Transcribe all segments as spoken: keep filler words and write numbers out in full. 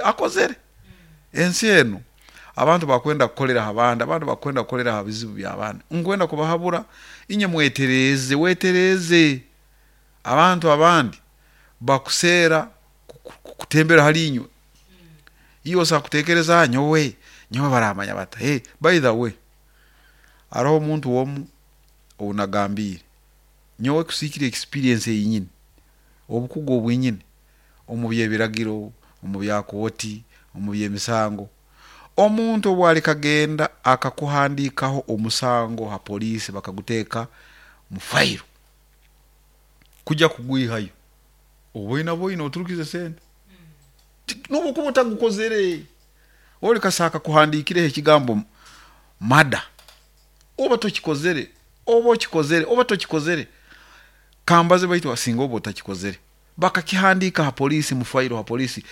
Akozere ensi eno, abantu bakwenda kukolera abandi, abantu bakwenda kukolera ha bizibu by'abandi. Nkwenda kubahabura inye, mwetereze, wetereze. Abantu abandi bakuseera kutembera hali inywe, iwe osobola kutekereza nyowe nyowe baramanya bata. Hey, by the way, haroho omuntu omu ou nagambiire nyowe kusiikira experience eyi nyine, obukugu obu nyine omu by'ebiragiro, omu bya kooti, omu by'emisango. Omuntu obu alikagenda akakuhandiikaho omusango ha police, bakaguteeka mu file, kujya kugwihayo oboine boine oturukize sente nobu okuba otagukozere. Oli kasita akakuhandiikireho ekigambo murder, oba tokikozere, oba okikozere, oba tokikozere, kambaze, baitu singa oba otakikozere, bakakihandiika ha poliisi, mu file ha poliisi,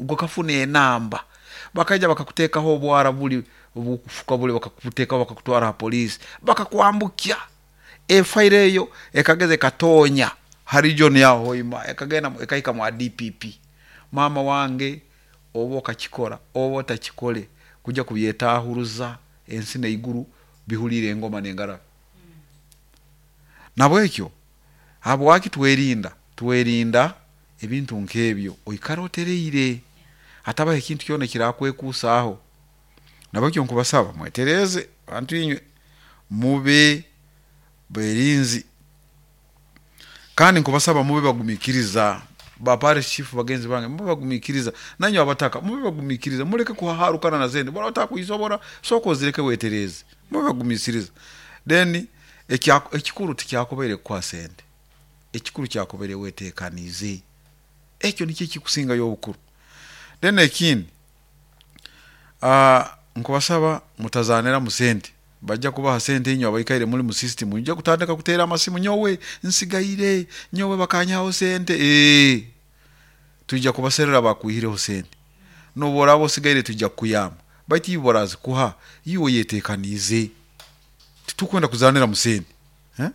okafuna enamba, bakaija bakakuteekaho obwara buli obukufuka buli, bakakuteekaho, bakakutwara ha poliisi, bakakwambukya, efile eyo ekageza ekatoonya ha region yaho Hoima, ekagenda ekahika mwa D P P. Maama wange, oba okakikora oba otakikole, kujya kubyetahuruza ensi neiguru bihuliire engoma nengarabi. Nabwekyo habwaki twerinda? Twerinda ebintu nk'ebyo, oikara otereire, hatabaho ekintu kyona ekirakwekuusaaho. Nabwekyo nkubasaba mwetereeze, bantu inywe, mube berinzi, kandi nkubasaba mube bagumiikiriza. Ba parish chief bagenzi bange, mube bagumiikiriza. Nainywe abataka mube bagumiikiriza, muleke kuhaharukana na sente. Bw'oraaba otakuisobora, sooka ozireke, wetereeze, mube bagumiisiriza. Then ekikuru tikyakubaire kukuha sente, ekikuru kyakubaire wetekaniize, ekyo nikyo ekikusingayo obukuru. Then ekindi, nkubasaba mutazaaniramu sente. Bajja kubaha sente, inywe abaikaire muli mu system mujja kutandika kuteera amasimu, nyowe nsigaire, nyowe bakanyihaho sente. Ee, twija kubaserra bakwihireho sente. Nobu oraaba osigaire twija kukuyamba, baitu iwe barazikuha iwe oyetekaniize. Titukwenda kuzaanira mu sente, eh?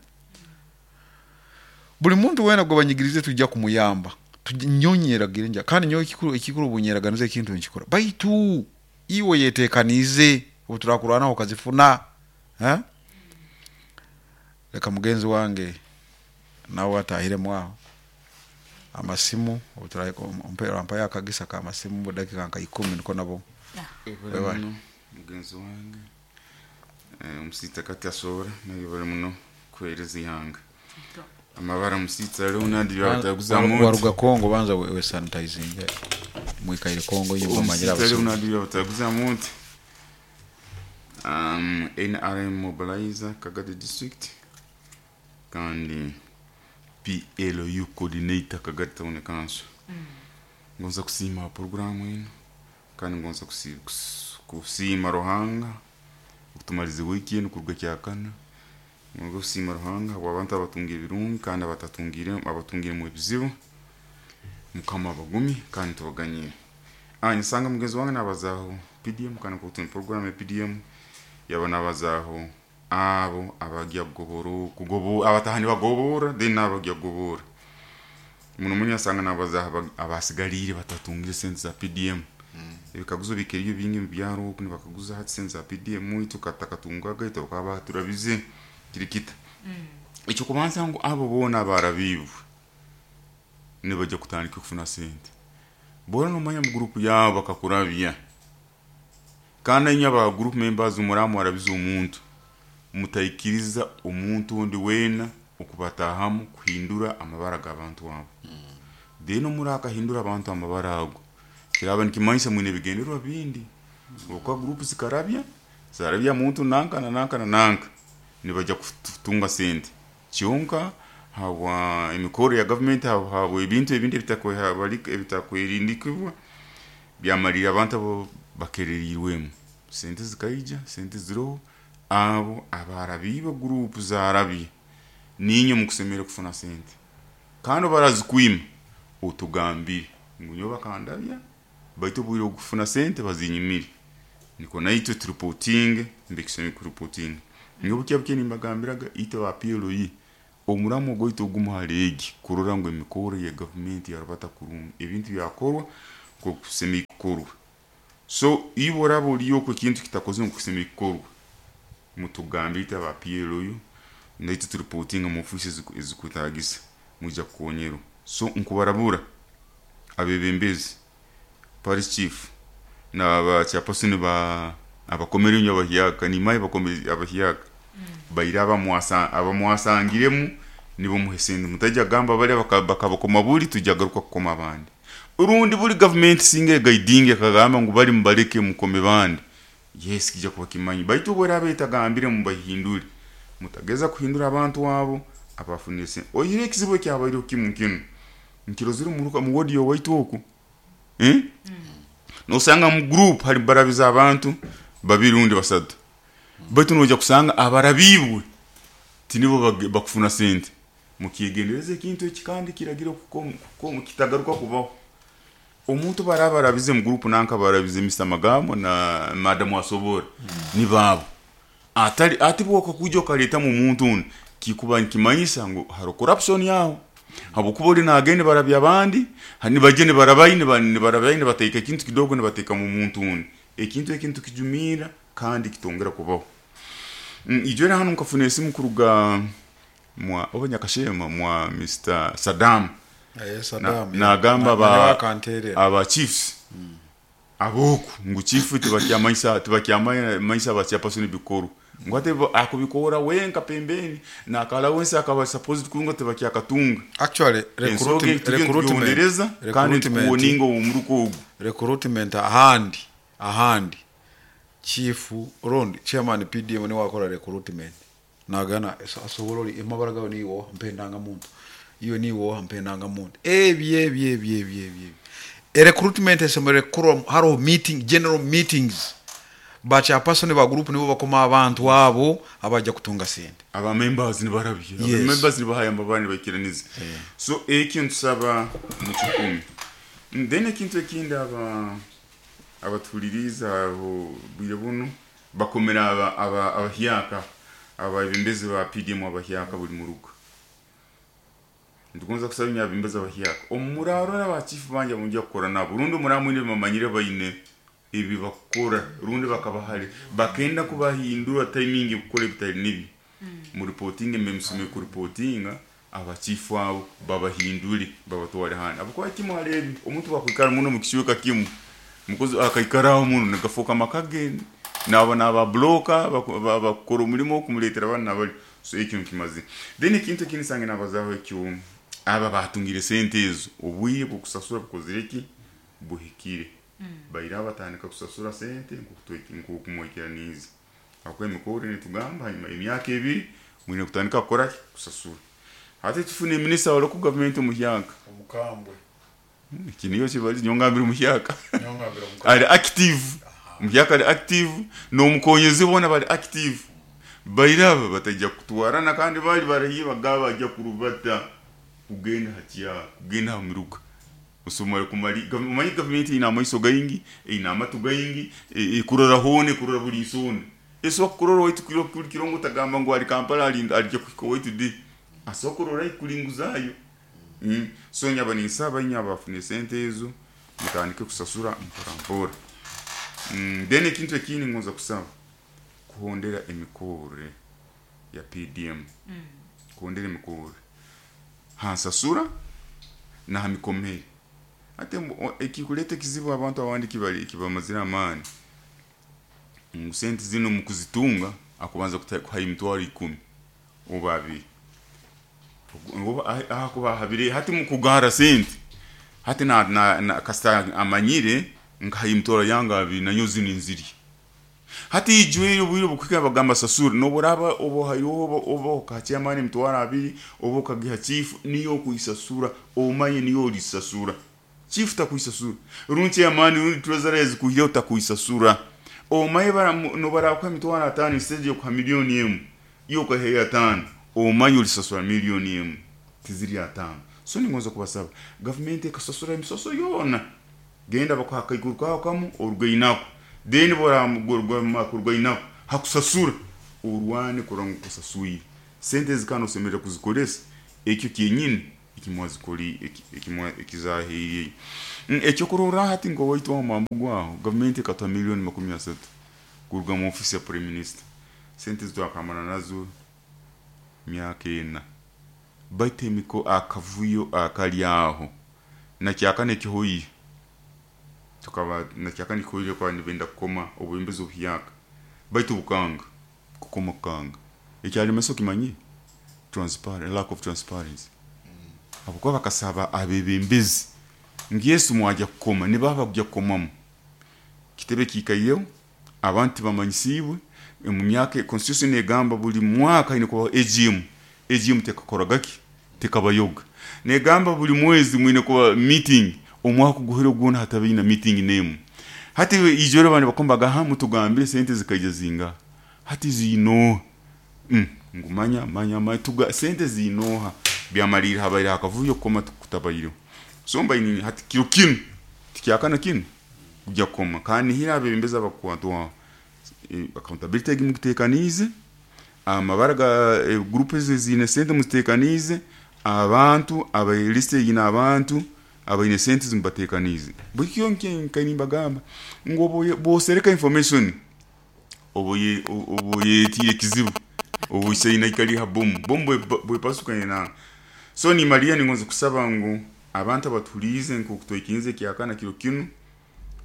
Buli muntu weena gwe banyigirize tujja kumuyamba. Nyowe nyeragire nja, kandi nyowe ekikuru ekikuru obunyeraganiza ekintu nkikora, baitu iwe oyetekaniize obu turakurwanaho okazifuna, eh? Leka mugenzi wange nawe atahiremu aho amasimu, obutura akagisa k'amasimu mu dakiika nka ikumi, niko nabo. Webale muno mugenzi wange, omusita kati asobora naye bali muno kuheereza ihanga amabara. Musitsa Leonard Byabataguza. Waruga Kongo, banza we sanitizing, mwikaire Kongo inywe mumanyire. Omusitsa Abasuma. Leonard Byabataguza muntu, um, N R M mobilizer Kagadi District kandi P L U coordinator Kagadi Town Council. Ngonza kusiima programu eno, kandi ngonza kusi- kus- kusiima Ruhanga okutumaliza wiiki eno kuruga kyakana. Ngonza kusiima Ruhanga habw'abantu abatunga ebirungi kandi abatatungire, abatungiremu ebizibu, Mukama abagumi kandi tubaganyire. Ah, nsanga mugenzi wange nabazaaho P D M, kandi kutu program ya P D M yaba nabazaaho abo abajya kugobora, kugobo abatahani bagobora, then n'abajya kugobora muno muno. Asanga nabazaho aba- abasigaliire batatungire sente za P D M. Ebikaguzo bikeriyo bingi mu byaro oku, nibakaguza hati sente za P D M itu katakatungaga itu bakaba baturabize kiri kita. Ekyokubanza ngu abo boona abarabiibwe nibajya kutandika kufuna sente. Bora nomanya mu group yabo bakakurabya, kandi inywe aba group members muramu warabize omuntu, mutaikiriza omuntu ondi weena okubatahamu kuhindura amabara g'abantu abo. Then murakahindura abantu amabara ago, kiraba nikimanyisa mwine ebigendererwa bindi, okuba group zikarabya zarabya muntu nanka na nanka na nanka, nibajya kutunga sente kyonka habwa emikoro ya gavumenti, habwa ebintu ebindi ebitakwerindikibwa byamalire abantu abo bakererirwemu. Sente zikaija, sente ziroho. Abo abarabiibwe, group zarabye, niinywe mukusemere kufuna sente, kandi barazikwima otugambire ngu nyowe bakandabya, baitu obwire obwokufuna sente bazinyimire, nikwo naitwe tureportinge mbekiseme kureportinga. Nyowe bukya bukya nimbagambiraga itwe aba P L U omuramu ogwaitu ogumu hali egi kurora ngu emikoro ya gavumenti yarubata kurungi, ebintu byakorwa. Nkokusemei kukorwa. So iwe oraba oliyo oku ekintu kitakozere nkokusemei kukorwa, mutugambire itwe aba P L U, naitwe turipotinga mu ofiisi eziku-, ezikwetagisa, mwija kukonyerwa. So nkubarabura abebembezi, parish chief na ba chairperson ba abakomere nyo abahyaka, nimaye bakomere abahyaka. Baira abamwasa, abamwasangiremu nibo muhesende. Mutajya gamba bali baka-, bakabakoma buli tujya garuka kukoma abandi. Urundi buli government singe guiding akagamba ngu bali mubareke mukome bandi. Yes, kijja kuba kimanyi. Baitu bwe betagambire mubahindure. Mutageza kuhindura abantu abo abafunise. Oyire ekizibu ekyabaire kimu kinu. Nkirozire muruka mu wodi yo waitu oku. Eh? Mm. Nosanga mu group hari barabiza abantu babiri rundi basatu. Baitu noja kusanga abarabibwe tinibo bakufuna sente. Mukigendereze ekintu ekikandi kiragira kuko kitagaruka kubaho. Omuntu barabarabize mu group nanka barabize Mister Magamo na Madam Wasobora. Mm. Ni babo. Atari ati bwo kujo kaleta mu muntu undi kikuba nkimanyisa ngo haro corruption yaho. Habukuba uri nagende barabya abandi, hani bagende barabayine bani barabayine bateka ekintu kidogo ne bateka mu muntu undi. Ekintu ekintu kijumira kandi kitongera kubaho. Mm, ijora hano nkafuna esimu kuruga mwa oba Nyakashema mwa Mister Saddam. Eh, Saddam. Na gamba ba aba chiefs. Mm. Aboku ngu chief tibakyamanyisa tibakyamanyisa ba chairperson bikoro. Ngwate akubikora wenka pembeni na akala wensa akaba supposed kurunga tibakyakatunga. Actually recruitment recruitment kandi kuoninga omuruko ogu. Recruitment ahandi ahandi chief round chairman P D M ni wakora recruitment. Nagana asoborori imabaraga ni wo mpendanga muntu. Iyo ni wo mpendanga muntu. Ebi ebi ebi ebi ebi. E recruitment esemere kuro haro meeting general meetings. Bacha person ba group nibo bakoma abantu abo abajya kutunga sente. Aba members ni barabye. Aba yes. Members ni bahayamba bani bakiraniza. Yeah. So ekintu saba mu kikumi. Then ekintu ekindi aba abatuliriza abo bwire buno bakomera aba aba abahyaka ababembezi ba P D M abahyaka buli murugo. Ndukunza kusaba nyabembezi abahyaka. Omuraro n'aba chief banje munjya kukora nabo. Rundi muramwe bamanyire bayine ibi bakora rundi bakabahari bakenda kubahindura timing gukora bitari nibi. Mm. Mu reporting memsume ku reportinga abachifu abo babahindure babatware hana. Abakwa kimu harebi omuntu bakwikara muno mu kishuka kimu. Mukozi akaikaraho muno nagafoka makage nabo naba bloka bakora umurimo kumuletera abana bari. So ekintu kimaze. Then ekintu kinisange nabazaho ekyo aba batungire sente ezo obwiye bukusasura bukozireki buhikire. Mm. Baira batandika kusasura sente nkukumwekera nizi. Akwe mikoro nitugamba hanyuma emyaka ebiri mwine kutandika kukora kusasura. Hati tufune minister wa local government muhyaka. Omukambwe. Kiniyo kibali nyongambira muhyaka. Nyongambira omukambwe. Ali active. Muhyaka ali active no mukonyezi bona bali active. Baira batajya kutwarana kandi bali barahiba gaba ajya kurubata kugenda hatia kugenda miruka. Usumare kumari umanyi government ina amaiso gaingi ina amatu gaingi ikurora hone kurora buri isone eso kurora waitu kiro kirongo tagamba ngo ari Kampala ari arije kuko waitu di asokurora ikulinguzayo. Mm. So nyaba ninsaba nyaba afune sente ezo mutandike kusasura mpora. Mm, then ekintu ekindi ngonza kusaba kuhondera emikore ya P D M. Mm. Kuhondera emikore hansasura na hamikomere. Ate ekikuleta kizibu abantu abandi kibali kibamazira amani. Sente zino mukuzitunga akubanza kuhaye imitwaro ikumi oba abiri. Oba akuba habire hati mukugara sente. Hati na na, na kasta amanyire nkahaye imitwaro yanga abiri nanyo zini nziri. Hati ijwe bwiro bukwika bagamba sasura no boraba obo hayo obo obo kacha amani imitwaro abiri obo kagiha chief niyo kuisasura omanye niyo lisasura. Chief takuisasura. Runti amani rundi treasurer kuhira utakuisasura. Omaye bara no bara kwa mitwaro atano instead yo kwa milioni emu. Yo kwa heya atano. Omaye ulisasura milioni emu. Tiziri atano. So ni ngonza kubasaba. Government ekasasura emisoso yona. Genda bakwaka iguruka kamu orugainako. Then bora mugorwa makurwainako. Hakusasura. Urwane kurango kusasuyi. Sente zikano semerera kuzikolesa. Ekyo kyenyini Ekimwazikoli ekizahiriye ekyokurora hati ngo waitu wa mambo gwaho gavumenti ikatoa milioni makumi asatu kuruga mu ofisi ya prime minister. Sente zitwakamana nazo myaka ena, baitu emiko akavuyo akali aho nakyakana ekihoire tukaba nakyakana ekihoire kwa nibenda kukoma obwembezi obuhyaka, baitu bukanga kukoma kukanga ekyalemesa okimanyi transparent, lack of transparency. Habwokuba bakasaba abebembezi ngu Yesu mwajya kukoma nibaba kujya kukomamu kitebe kiikaireho abantu bamanyisiibwe mu myaka. Constitution egamba buli mwaka ine kubaho A G M. A G M tekakoraga ki? Tekabayoga. Negamba buli mwezi mwine kuba meeting, omwaka guhire gwona hatabaina meeting nemu. Hati ijoro abantu bakombaga ha mutugambire sente zikaija zinga hati zino mm, ngumanya manya manya tuga sente zinoha byamalira habaire hakavuyo koma kutabairo. So mbaini hati kiro kinu tikyakana kinu kujya koma kandi hira abebembeza bakwatwa e, accountability egimutekanize amabara ga e, group zine sente mutekanize abantu abayiliste yina abantu abayine sente zimbatekanize bukyo nkainimbagamba ngo bosereka information oboye oboye tiye kizibu obusaina ikali ha bomu bombo bwepasukanye na. So ni Maria ningonze kusaba ngu abantu abatulize nko kutoikinze kyakana kiro kinu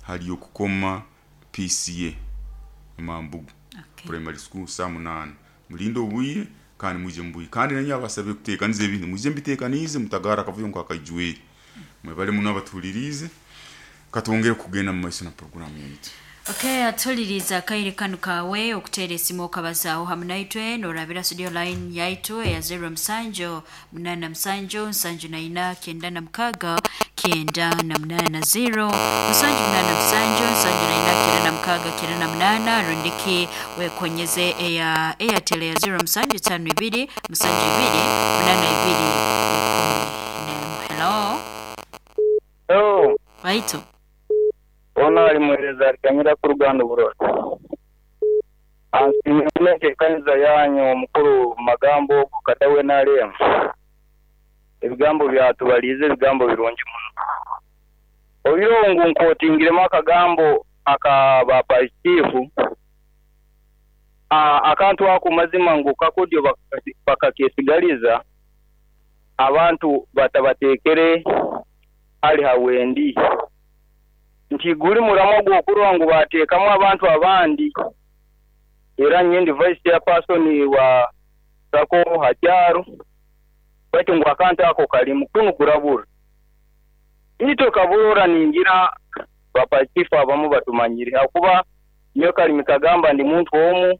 hali okukoma P C A Mambugu. Okay. Primary school saa munana mulindo obwire kandi muje mbuyi kandi nanyi abasabe kutekanize ebintu muje mbitekanize mutagara kavuyo nko akajwe mwebale muno abatulirize katwongere kugenda mu maiso na programu yaitu. Okay, atuliriza akaire kanu kawe okuteera esimu okabazaaho hamu naitwe norabira studio line yaitu eya zero musanju munana musanju nsanju na ina kenda na mukaga kenda na munana zero musanju munana musanju nsanju na ina kenda na mukaga kenda na munana rundiki wekonyeze eya Airtel ya zero musanju tano ibiri musanju ibiri munana ibiri ikumi nemu. Hello. Hello. Waitu. Ona ali muhereza alikanyira ku ruganda burora. Ansimuleke kanza yanyu omukuru magambo kadawe nalem. Ebigambo byatubalize ebigambo birungi muno. Obirongo nkotingiremo akagambo aka chief a akantu ako mazima ngu kakodyo bakakesigaliza abantu batabatekere ali hawendi. Nti guli muramo gwokurwa ngu bateekamu abantu abandi era nyendi vice chairperson wa sako hakyaro baitu ngu akantu ako kali mukunu kurabura ito kabura ningira bapachifu abamu batumanyire akuba niyo kali mikagamba ndi muntu omu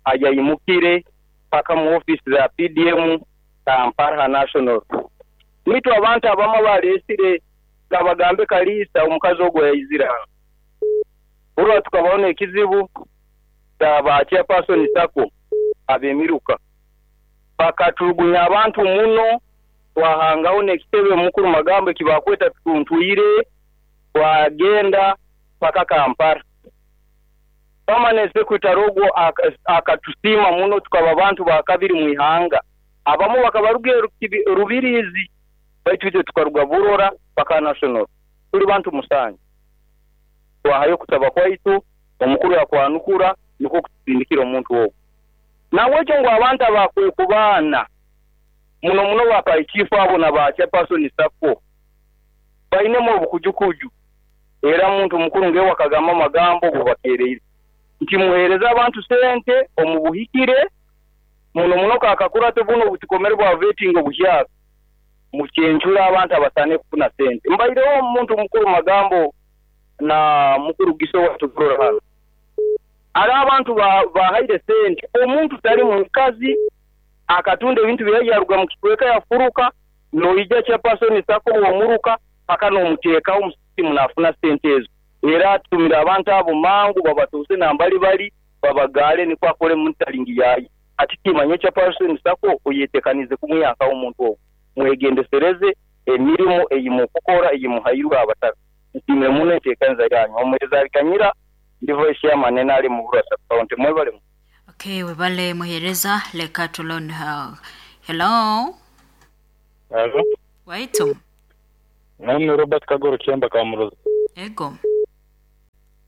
ajayimukire paka mu office za P D M Kampala National nitu abantu abamu balesire kabagambe kalisa omukazi ogwo yaizira urwa tukabaona ekizibu ba chairperson sako abemiruka bakaturugunya abantu muno twahangaho nekitebe mukuru magambo kibakweta tuntwire twagenda paka Kampala. Permanent secretary ogwo akatusima muno tukaba abantu bakabiri mu ihanga abamu bakabaruge rubirizi baitu tukaruga burora paka national tuli bantu musanju twahayo kutaba kwaitu omukuru yakwanukura niko kutsindikira omuntu ogwo nawekyo ngo abantu abakwe kubana muno muno bapayichifu abo na ba chairperson sako bainemo obukujukuju era muntu mukuru ngewe wakagamba amagambo bubakereire nti muhereza abantu sente omubuhikire muno muno kakakurate buno butikomere bwa vetting obuhyaka mucyenjura abantu abasane kufuna sente mbaireho omuntu mukuru magambo na mukuru giso watukurora hano ari abantu bahaire sente omuntu tali mukazi akatunda ebintu byayaruga mu kikweka yafuruka noija chairperson sako omuruka paka nomuteeka omusimu nafuna sente ezo era atumira abantu abo mangu babatuse nambali bali babagale niko akole mutalingi yayi ati kimanye chairperson sako oyetekanize kumuyaka omuntu ogwo mwegendesereze emirimu eyimukukora eyimuhairwa abataka ntimwe muno etekanza yanyu omuhereza alikanyira ndi voice ya manena ali mu Burasa County mwebale. Okay, webale muhereza leka tulon. Hello. Hello. Waitu. Nami Robert Kagoro Kyemba Kamuroza. Ego.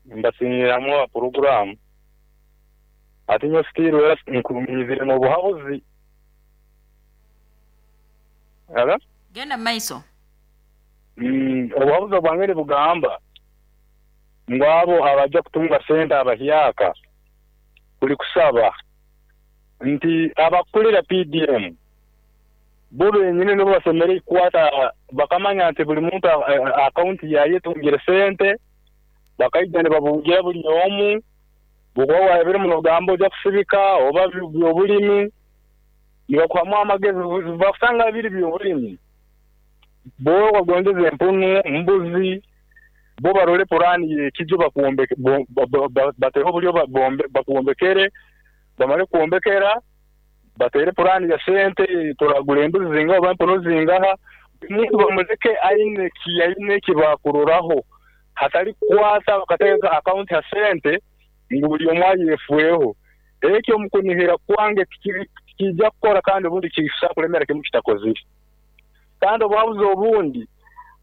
Mbasinyiramu program. Ati nyo stiru era nkumizire no buhabuzi. Ala? Genda maiso. Mm, obuhabuzi bwangere bugamba ngwabo abajja kutunga sente abahyaka kuli kusaba nti abakulira P D M bo benyine nibo basemere kukwata bakamanya nti buli muntu akaunti yaye tungire sente bakaija ne babungira buli omu bukowa ebiri muno gambo ja kusibika oba byobulimi nibakuhamu amagezi bakusanga biri byobulimi bo bagondeze empunu mbuzi bo barole purani yekijo bakuombe bateho bulyo bakuombekere bamale kuombekera batere purani ya sente turagura embuzi zingaho bampono zingaha muntu bamuzeke aine ki aine kibakuroraho hatali kwata bakateka account ya sente ngu buli omwe yefueho ekyo mukunihira kwange kijja kukora kandi obundi kisa kulemera kimu kitakozire kandi obuhabuzi obundi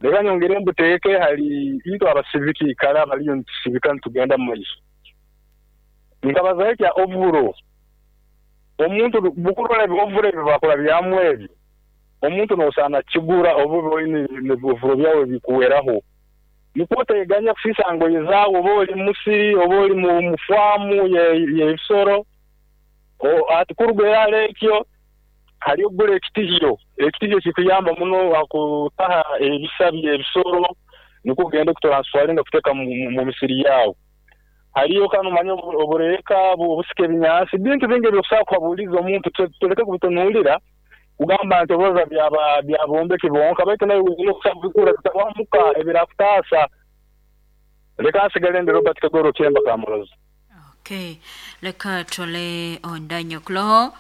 leka nyongere mbuteeke hali itwe abasibiki kala baliyo ntusibika ntugenda mu maiso nkabaza ekya ovuro omuntu bukurora ovuro ebyo bakora byamwe ebyo omuntu nosana kigura obubi oyine ovuro byawe bikuweraho niko teganya kufisa ngoye zawo oba oli musiri oba oli mu mufamu ye ye o atikurugera lekyo hali ogule ekitihyo ekitihyo kikuyamba muno akutaha ebisabye ebisoro niko kugenda kutransferinga kuteka mu misiri yawo haliyo kano manyo obureka obusike ebinyansi bintu bingi byokusaba kwabuliza omuntu tuleke kubitunulira kugamba nti oboza byaba byabombeki bonka baitu nayo okusaba kutawamuka ebirakutasa leka nsigale ndi Robert Kagoro Kyemba Kamuroza. Okay, leka tole ondanyo kuloho.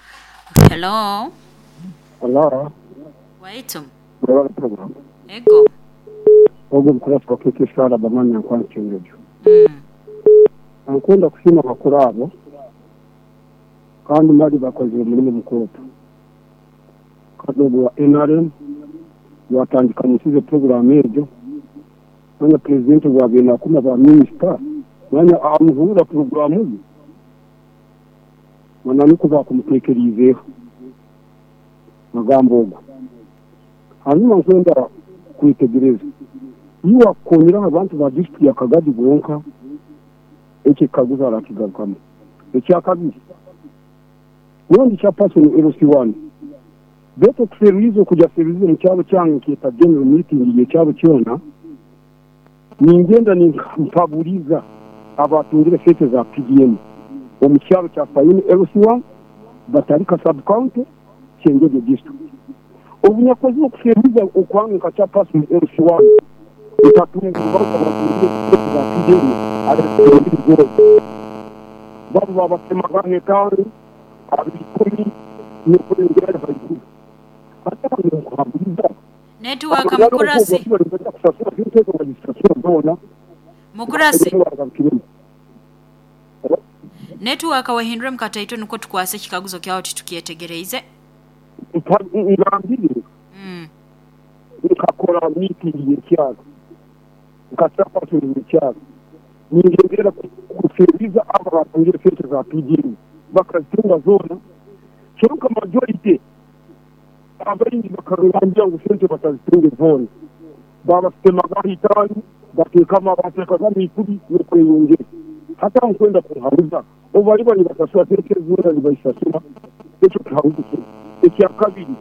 Hello. Hello. Waitu. Mwebale program. Ego. Ogo mukurafu wakeke sala bamanya nkwansi kyengejo. Mm. Ankunda kusima bakuru abo kandi mali bakoze omulimu mukuru. Kadogo wa N R M watandikanyisize program ejo manya president wa bina kuma ba minister manya amuhura programu ye manani kuba kumutekerizeho magambo ogo hanyuma nkwenda kwitegereza iyo wakonyera abantu ba district ya Kagadi gonka ekikaguza arakigarukamo ekyakabiri ubundi cya person L C one beto kuseruizo kujya seruizo mu cyaro cyange kita general meeting igihe cyaro cyona ningenda nimpaburiza abatungire sete za P D M mu cyaro cya Fayini L C one batarika sub county Kyengege district obunyakozi okuseruiza okwange cya person L C one utatunga abatungire sete za P D M ari babu babatemagane kandi abikumi n'okurengera haiguru Network mukurasi Mukurasi Network wahindure mkataito nuko tukwase kikaguzo kyawo titukietegereize ngambire mm nkakora meeting y'ekyalo nkasaba y'ekyalo ningengera kuseriza aba batangire sente za P D M bakazitunga zona kyonka majority abaingi bakarurangira ngu sente batazitunge zona babasitemaga itanu batekama batekagamo ikumi n'okweyongera hata nkwenda kuhabuza obu bali basasura sente zona nibayisasura ekyo kihabuzo kye ekya kabiri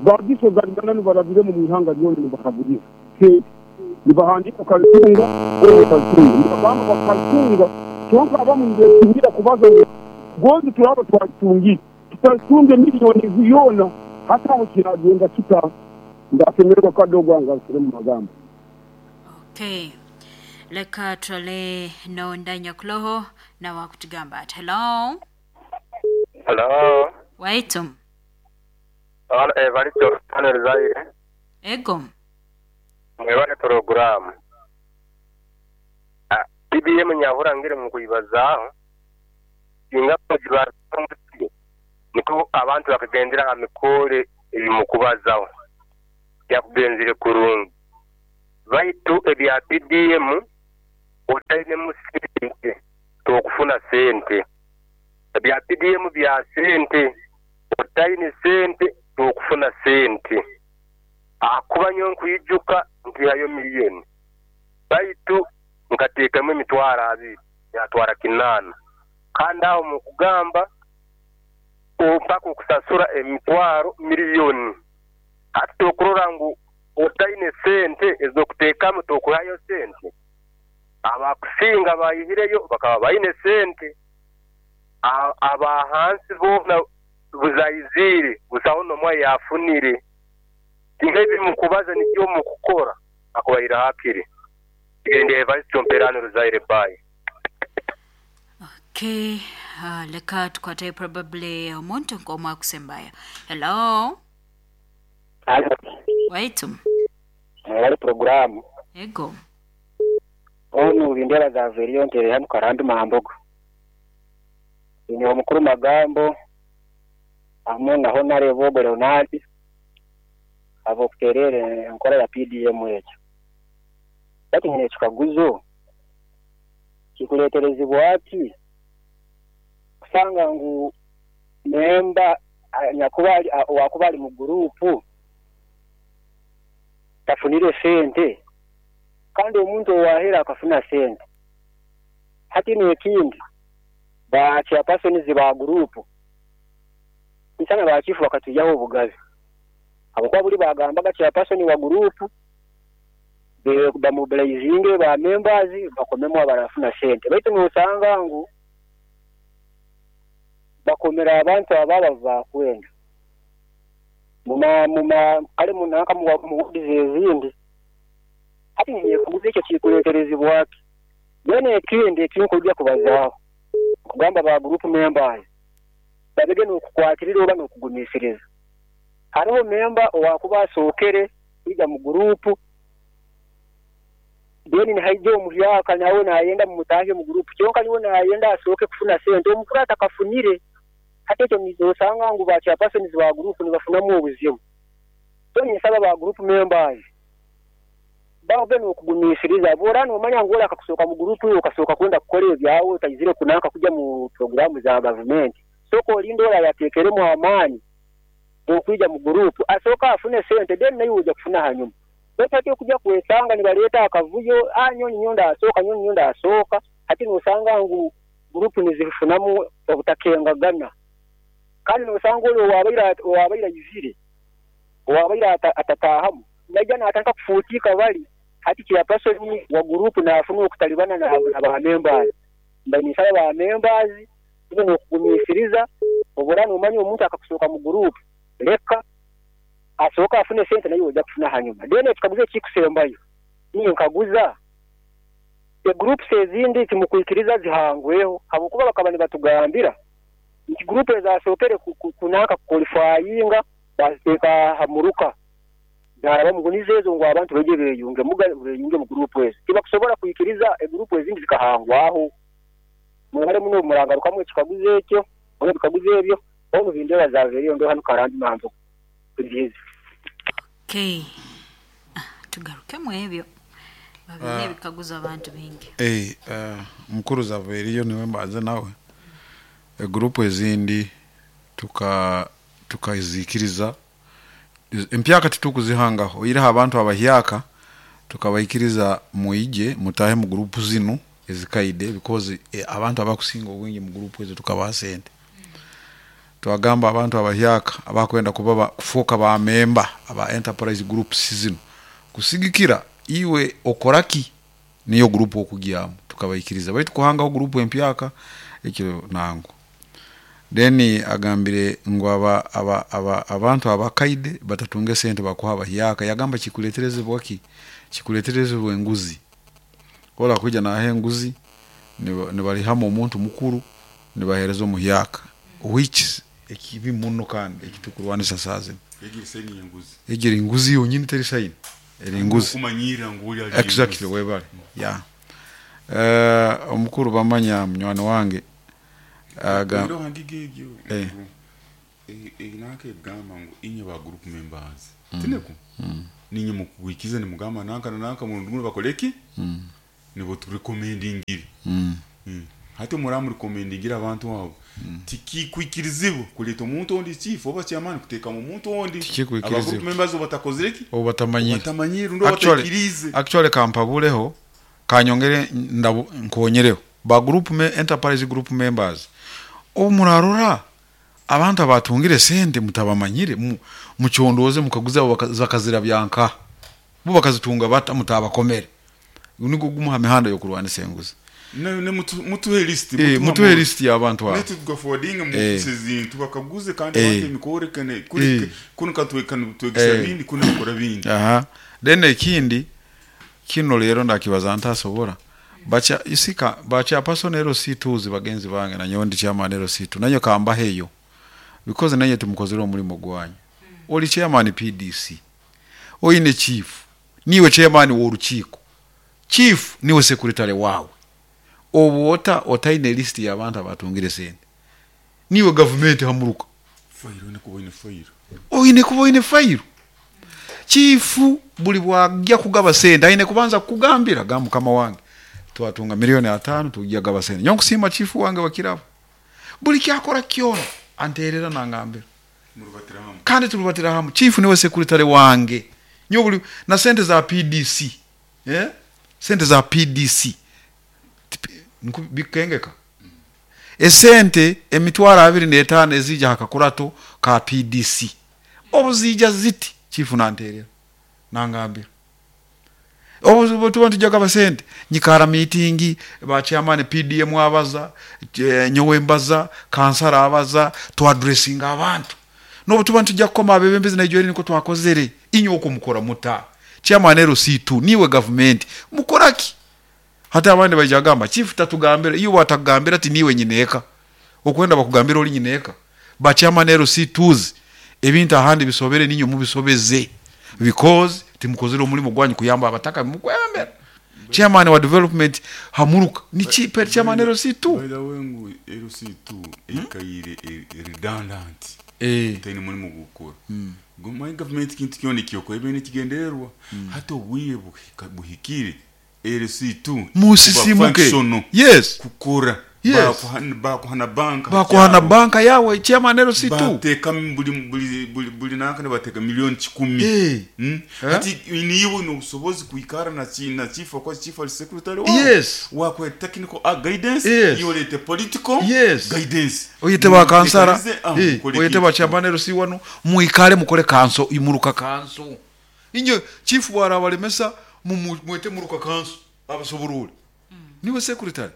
bagisoganirana nibarabire mu ihanga ryona nibahaburiza sente nibahandika ukazitunga oba utazitunga nibagamba bakazitunga kyonka abamu nibeetingira kubaza ngu gondi turaba twatungire tutazitunge miliyoni ziyona hata aho kiragenda kita ndasemererwa kadogo angasire mu magambo. Okay, leka twale nondanya kuloho na wakutugamba ati hello. Hello. Waitu. Eh valito panel zaire. Ego. Mwebale program. Ah, P B M nyahura ngire mu kuyibazaho inga bajibaza niko abantu bakagendera amikore ebimukubazaho. Byakugenzere kurungi. Baitu ebya P D M otainemu sente tokufuna sente. Ebya P D M bya sente otaine sente tokufuna sente. Akuba nyo nkwijuka nkihayo miliyoni. Baitu nkateekamu emitwaro abiri yatwara kinaana. Kandi aho mu kugamba mpaka okusasura emitwaro miliyoni. Hati tokurora ngu otaine sente ez'okuteekamu tokuhayo sente. Abakusinga bayihireyo bakaba baine sente. Abahansi boona buzaizire busaho n'omwe yafunire. Tingebi mukubaza nikyo mukukora akubaira hakiri. Tigende vice chomperano ruzaire bayi. Okay, uh, leka tukwate probably omuntu nk'omwe akusembaya. Hello. Hello. Waitu. Mwali programu. Ego. Onu bindera za veriyo ntere hano Karambi Mahambogo. Ni omukuru Magambo amu na Honorable Leonard abo kuterere enkola ya P D M ekyo. Bati nyine ekikaguzo kikuleterezibwa ati kusanga ngu memba nyakuba wakuba ali mu gurupu tafunire sente kandi omuntu owahera akafuna sente. Hati n'ekindi ba chairpersons ba gurupu nsana ba chifu bakatujaho obugabe abakuba buli bagambaga chairperson wa gurupu be bamobilizinge ba members bakomemu abarafuna sente. Baitu nosanga ngu bakomera abantu ababa bakwenda muma muma kale munanka muwudize ezindi. Hati niyekuguza ekyo kikuleterezibwa ati bene ekindi ekinkujja kubazaaho kugamba ba group members babege n'okukwatirira oba n'okugumisiriza. Hariho member owakuba asookere kwiga mu gurupu then nihaija omuhyaka nawe nayenda mumutahe mu gurupu kyonka niwe nayenda asooke kufuna sente omukuru atakafunire. Hati ekyo nizosanga ngu ba chairpersons ba gurupu nibafunamu obuzibu. So ninsaba ba group members babe n'okugumisiriza bora nomanya ngu ora akakusooka mu gurupu okasooka kwenda kukora ebyawe otayizire kunanka kujja mu programu za gavumenti. Sooka olinda ora yateekeremu amaani okwija mu gurupu asooka afune sente then naye ojja kufuna hanyuma. Baitu hati okujja kwesanga nibaleeta akavuyo ah nyonyi nyonda asooka nyonyi nyonda asooka hati nosanga ngu gurupu nizifunamu obutakengagana. Kandi nosanga oli owabaire owabaire ayizire owabaire atatahamu naija natandika kufuutika bali hati chairperson wa gurupu nafuna okutalibana na ba members. Mba ninsaba ba members tube n'okugumisiriza obura nomanya omuntu akakusooka mu gurupu leka asooka afune sente naye ojja kufuna hanyuma. Then ekikaguzo ekikusembayo niyo nkaguza egroups ezindi timukwikiriza zihangweho habwokuba bakaba nibatugambira nti group ezasookere kunaka kuqualifyinga baziteeka hamuruka zaraba mugunize ezo ngu abantu beje beyunge muga beyunge mu group ezo tibakusobola kwikiriza egroup ezindi zikahangwaho. Mwebale muno murangarukamu ekikaguzo ekyo oba ebikaguzo ebyo omu bindera za veriyo ndo hano Karambi Mahambogo. Okay. Tugarukemu ebyo babine ebikaguzo abantu bingi. Eh uh, mukuru za veriyo niwe mbanze nawe egroup ezindi tuka tukazikiriza empyaka titukuzihangaho iraha abantu abahyaka tukabaikiriza muije mutahe mu group zinu ezikaide because eh, abantu abakusinga obwingi mu group ezo tukabaha sente. Twagamba abantu abahyaka abakwenda kuba kufoka ba member aba enterprise groups zinu kusigikira iwe okoraki niyo group okugyamu tukabaikiriza baitu kuhangaho group empyaka ekyo nango. Then agambire ngu aba aba aba abantu abakaide batatunge sente bakuha abahyaka yagamba kikuleterezebwa ki kikuleterezebwa enguzi kola kuja na henguzi nibalihamo omuntu mukuru nibahereza omuhyaka which ekibi muno kandi ekitukurwanisa saze egiri sayini enguzi egiri nguzi yonyini teri sayini eri nguzi kumanyira nguli ali exactly webale ya eh omukuru bamanya munywani wange aga ndo hangige ebyo eh inake gamba ngu inye ba group members tineko Ninye mukwikiza nimugamba nanka na nanka murundi guno bakoleki nibo turekomendingire. Mm. Mm. Hati muramu rekomendingira abantu abo tikikwikirizibwa kuleta omuntu ondi chief oba chairman kuteeka mu muntu ondi. Tikikwikirizibwa. Aba group members obatakozireki Obu batamanyire. Batamanyire ndo Actually- batakirize. Actually kampabuleho kanyongere ndabu nkonyereho ba group me, enterprise group members omurarora abantu abatungire sente mutabamanyire mu- mukyondoze mukaguza abo baka- bakazira byanka bo bakazitunga bata mutabakomere niko gumuha mihanda yo kurwanisa enguzi. Ne ne mutu- mutuhe list. Eh, mutuhe list y'abantu abo. Netu tugaforwardinga mu Eh. offices zintu bakaguze kandi Eh. bate imikorekane kuri Eh. kuno katwekana twegesa Eh. bindi kuno bakora bindi. Aha, then ekindi kino rero ndakibaza ntasobora bacha isika bacha person ero situzi bagenzi bange nanyo ndi chairman ero situ nanyo kamba heyo because nanyo tumukozera omulimo gwanyu. Oli chairman P D C, oyine chief, niwe chairman w'orukiiko, chief niwe secretary wawe, obwota otaine list y'abantu abatungire sente niwe government hamuruka. Fairo ne kuba ine fairo. Oyine kuba oyine fairo. Chifu buli bwajja kugaba sente ayine kubanza kugambira ga mukama wange twatunga milioni atano tujja gaba sente. Nyo nkusiima chifu wange wakirabo buli kyakora kyona anterera nangambira. Murubatira hamwe. Kandi turubatira hamwe. Chifu niwe secretary wange nyo buli na sente za P D C, eh sente za P D C Nku-, bikengeka esente emitwaro abiri n'etaano ezija hakakurato ka P D C obuzija ziti chifu nanterera nangambira obuzibu tuba tujja abasente nyikara meeting ba chairman P D M abaza, eh, nyowe mbaza kansara abaza to addressing abantu no tuba tujja kukoma abebembezi na ijori niko twakozere inyo okumukora muta chairman L C two niwe government mukoraki hata abandi baija gamba chief tatugambira iyo watagambira ati niwe nyineka okwenda bakugambira oli nyineka ba chairman L C twos ebintu ahandi bisobere ninyo mubisobeze because timukozere omulimu gwanyu kuyamba abataka mukwembera chairman wa development hamuruka ni chief chairman L C two. By the way ngu L C two ekaire redundant. Eh. Tayini mulimu gukora. Mm. My government kintu kyona kyokora ebintu kigendererwa. Hata obwiye buhikire L C two musisimuke. Yes. Kukora. Yes. Bakuhana, bakuhana banka. Bakuhana banka yawe chairman L C two. Bateka buli buli buli buli nanka ne bateka milioni kikumi. Eh. Mm? Eh? Ati niwe n'obusobozi kuikara na chi na chief kwa chief al secretary wa. Yes. Wa kwa technical uh, guidance. Yes. Yolete political Yes. guidance. Oyete ba kansara. Ah, Eh, oyete ba chairman L C wano muikare mukore kanso imuruka kanso. Inyo chief wara balemesa mwete muruka kanso abasoborule. Mm. Niwe secretary.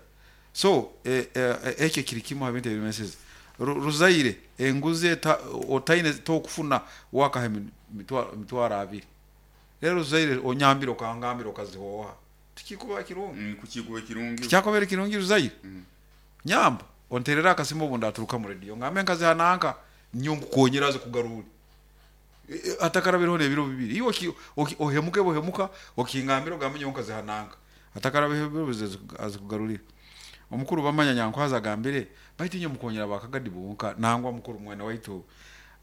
So eh eh ekyo kiri kimu abintu ebimeseze Ruzaire enguzi otaine tokufuna wakahe mitwaro abiri rero Ruzaire onyambira okangambira okazihoha tikikuba kirungi. Mm, kukikuba kirungi tikyakobera kirungi Ruzaire. Mm. Nyamba onterera akasimo obundi aturuka mu radio ngambe nkazi hananka nyongu konyera aze kugarura e, atakarabiriho nebiro bibiri iyo ohemuke bohemuka okingambira ogambe nyongu nkazi hananka atakarabiho aze kugarurira. Omukuru bamanya nyankwaza agambire baitu inyo mukonyera bakagadi bonka nangwa mukuru mwana waitu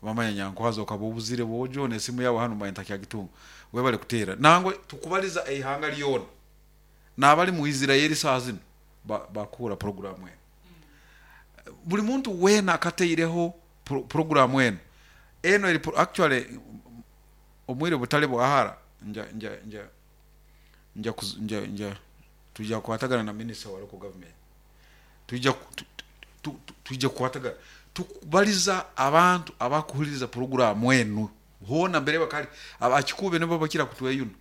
bamanya nyankwaza okabobuzire bojo nesimu yawe hano mayinta kya gitungo webale kutera nangwe tukubaliza eihanga lyona nabali mu Israeli saazino bakura ba program eno. Buli muntu wena akateireho pro, program eno eno eri actually omwire butale bwahara nja nja nja nja nja, nja tujja kwatagana na minister wa local government tujja tujja kwatagana tukubaliza abantu abakuhuliriza program eno hona mbere bakali abakikube nibo bakira kutweyuna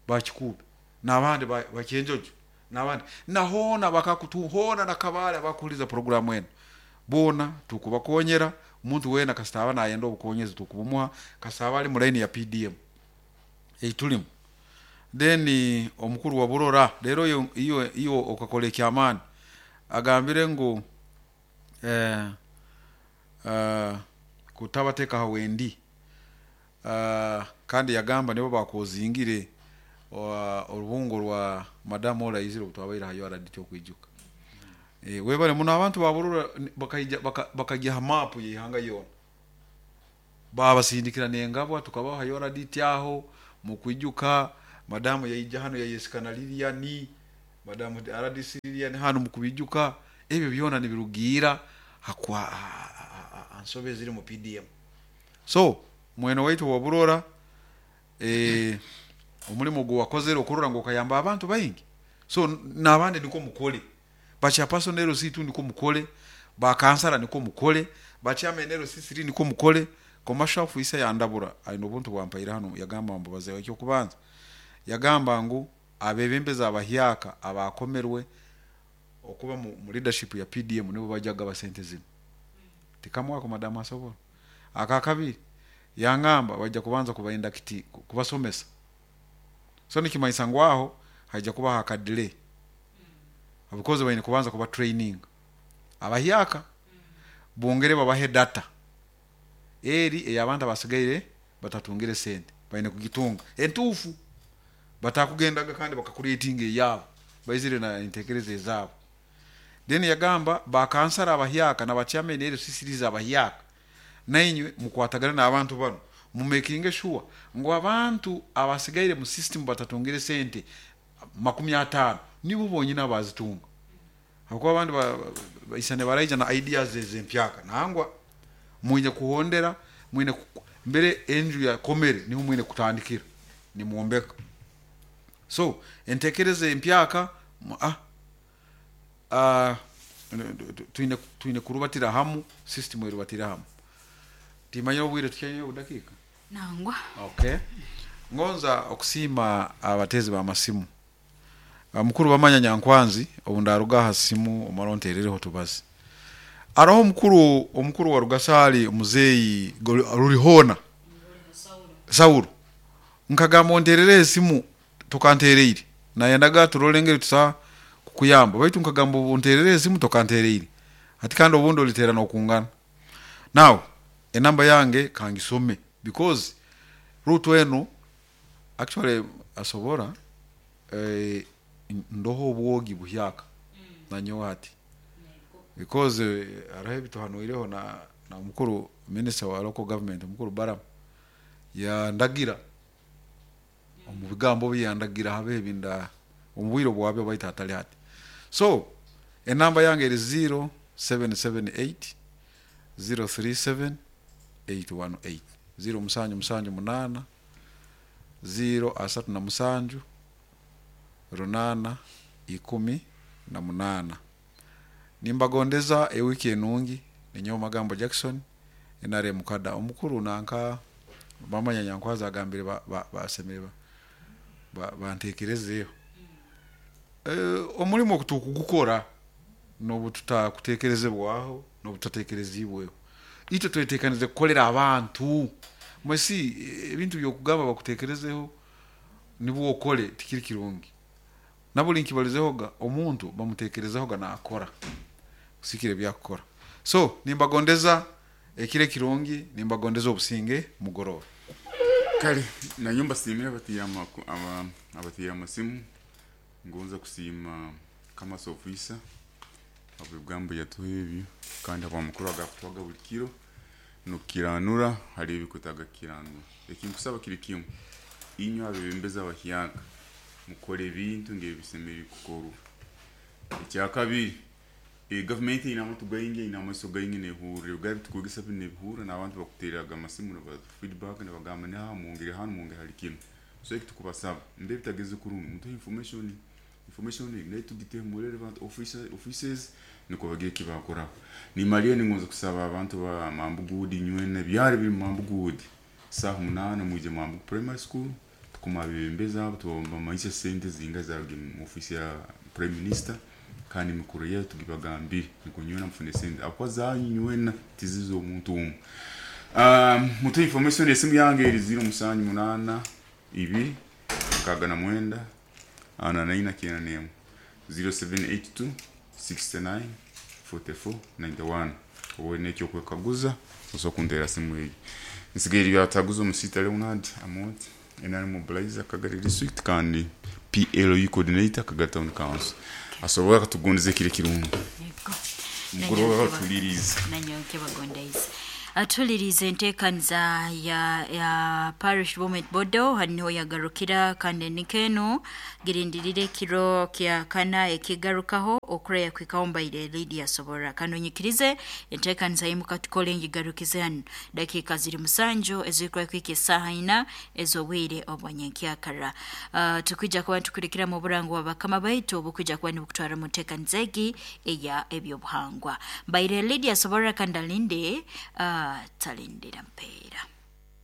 bakikube nabandi bakenjojo nabandi nahona bakakutuhona nakabale abakuhuliriza program eno bona tukubakonyera omuntu wena kasitaba nayenda obukonyezi tukubumuha kasitaba ali mu line ya P D M eitulimu. Then omukuru wa Burora rero iyo iyo iyo okakola ekyamaani agambire ngu eh uh, kutabateka hawendi uh, kandi yagamba nibo bakozingire orubungo rwa madamu Olayizire obutwabaire hayo araditi okwijuka. Eh webale muno abantu ba Burora bakajja bakajja ha map yihanga yona babasindikira nengabwa tukabaha hayo araditi aho Mukwijuka madamu yaija hano yayesikana Lilian, madamu R D C Lilian hano mukubijuka. Ebyo byona nibirugira hakwa ansobe ziri mu P D M. So mwene waitu waburora eh omulimu gwo wakozere okurora ngo kayamba abantu baingi. So nabandi niko mukole, bacha personnel C two niko mukole, ba kansala niko mukole, ba chairman L C three niko mukole. Commercial officer yandabura aino buntu bwampaira hano yagamba mbo bazewe cyo kubanza yagamba ngu abebembeza abahyaka abakomerwe okuba mu, mu leadership ya P D M nibo bajaga basente zino. Tikamwako madamu asobola akakabiri yangamba bajja kubanza kubainda kiti kubasomesa. So nikimaisa ngwaho haija kuba hakadile because bayine kubanza kuba training abahyaka bongere babahe data eri eyabanta basigaire batatungire sente bayine kugitunga entufu batakugendaga kandi bakakuretinga eyabo baizire na intekereze zabo. Then yagamba bakansara abahyaka na bachairman L C C abahyaka nainywe mukwatagana n'abantu bano mu making sure ngo abantu abasigaire mu system batatungire sente makumi atano nibo bonyina bazitunga. Hakuba abandi baisane baraija na ideas ezempyaka nangwa mwine kuhondera mwine mbere enju ya komere niho mwine kutandikira ni muombeka. So entekereze empyaka ah ah twine twine kurubatira hamu system erubatira hamu. Timanya obwire tukenye udakika nangwa. Okay, ngonza okusima abatezi ba masimu mukuru bamanya Nyankwanzi obundaruga hasimu omaronterereho tubazi araho mukuru omukuru wa Rugasali muzeyi rurihona Saulo nkagamba onterere esimu tokantereire nayendaga turolengere tusa kukuyamba baitu nkagamba onterere esimu tokantereire ati kandi obundi olitera nokungana. Now enamba yange kangisome because route eno actually asobora eh, ndoho obwogi buhyaka mm. nanyo ati because eh, arahe bituhanuireho na na mukuru minister wa local government mukuru Baram ya ndagira omu bigambo byandagira habe binda omubwiro bwabyo baita atali hati. So enamba yange eri zero seven seven eight zero three seven eight one eight zero musanju musanju munana zero asatu na musanju runana ikumi na munana. Nimbagondeza ewiki enungi ninyo magambo Jackson enare mukada omukuru nanka bamanya Nyankwaza agambire basemere ba bantekerezeyo eh omulimo kutukugukora nobututakutekerezebwaho nobutatekerezibweho ito twetekanize kukolera abantu mwesi ebintu byokugamba bakutekerezeho nibwo okole tikiri kirungi. Nabuli nkibalizehoga omuntu bamutekerezahoga nakora kusikire byakora. So nimbagondeza ekire kirungi, nimbagondeza obusinge mugoroba. Kale na nyumba simira batiyama aba abatiyama simu ngonza kusima kama officer abigambo yatuhebyo kandi abamukuru agakutwaga buli kiro nukiranura hari ebikutaga kiranura ekinkusaba kiri kimwe inyo abebembeza abahyaka mukore ebintu ngebisemeri kukorwa. Ekyakabiri e government ina amatu gaingi ina amaso gaingi nehurire gabi tukugisa binehura n'abantu bakuteraga amasimu na feedback na bagamba na mungire hano mungire hari kimwe. So ekitukubasaba mbe bitageze kurungi mutu information information ne tugite mu relevant officer offices niko bagiye kibakora. Ni mariye ningoza kusaba abantu ba Mambugudi nywene byari biri Mambugudi saha munana muje Mambugu primary school tukuma bibembeza tubomba maisha sente zinga zaruge mu office ya prime minister kandi mikuru yetu tugibagambire niko nywena mfune sente akwa zanywena tizizo omuntu umwe. Um mutu information esimu yange eri zero musanju munana ibiri kaga na mwenda ana naina kina nemu zero seven eight two six nine four four nine one owe nekyo kwekaguza osokundera simu iyi nsigaye byataguza omusita Leonard Amot enari mobilizer Kagari district kandi P L U coordinator Kagari town council asobola katugonze kire kirungu mugoroba batuliriza nanyo kebagondaiza. Atulirize enteekaniza ya, ya parish development board hanu niho yagarukira, kandi nikeno girindirire ekiro kya kana ekigarukaho okureya kwikaho mbaire Lydia Sobora. Kano nyikirize enteekaniza yimuka tukole ngigarukize hanu dakiika ziri musanju ezirikura kwika esaaha ina ez'obwire obwanyenkyakara. Uh, tukwija kuba nitukurikira mu burango bwa bakama baitu obukwija kuba nibukutwara mu nteekaniza egi eya ebyobuhangwa. Mbaire Lydia Sobora kandi alinde, uh, talindira mpeera.